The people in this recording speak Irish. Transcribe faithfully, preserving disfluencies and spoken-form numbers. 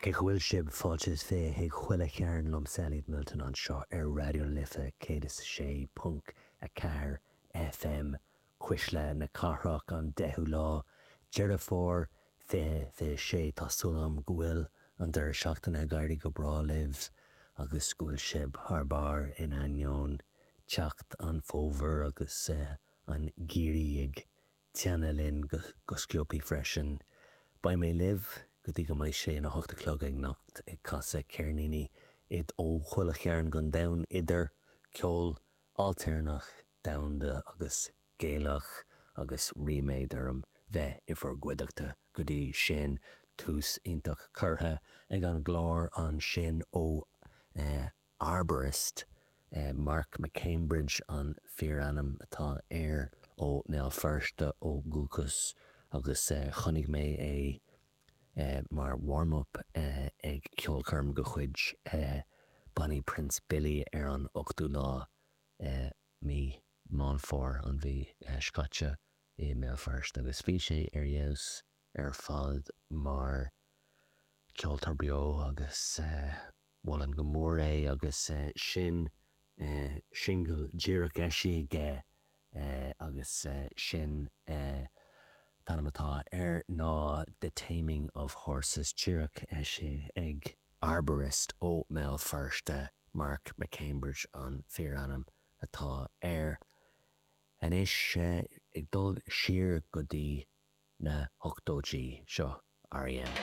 Cén chaoi a bhfuil sibh? Fáilte is fiche chuig Chuile Chearn liomsa Elliot Milton anseo ar Raidió na Life céad is a sé ponc a ceathair F M, Cuisle na Cathrach, an deichiú lá Deireadh Fómhair fiche fiche sé. Tá súil agam go bhfuil an deireadh seachtaine ag éirí go breá libh agus go bhfuil sibh thar barr in ainneoin teacht an fómhair agus an geimhridh ag teannadh linn go sciobtha freisin. Beidh mé libh go dtí go mbeidh sé ina hocht a chlog anocht ag casadh ceirníní ó chuile chearn den domhan, idir ceol ailtéarnach, domhanda agus Gaelach, agus ríméad orm bheith i bhur gcuideachta go dtí sin. Tús iontach curtha ag an gclár ansin ó Arborist. Mark McCambridge an fíorainm atá air, ó mBéal Feirste ó dhúchas, agus chonaic mé é mar warm-up ag ceolchoirm de chuid Bonnie Prince Billy ar an ochtú lá mí Meán Fómhair an mhí seo caite i mBéal Feirste, agus bhí sé ar fheabhas ar fad mar ceoltóir beo agus mholfainn go mór é. Agus sin singil díreach eisithe aige, agus sin an t-ainm atá air ná The Taming of Horses, díreach eisithe ag Arborist ó mBéal Feirste. Mark McCambridge an fíorainm atá air. Anois ag dul siar go dtí na hochtóidí, seo R E M.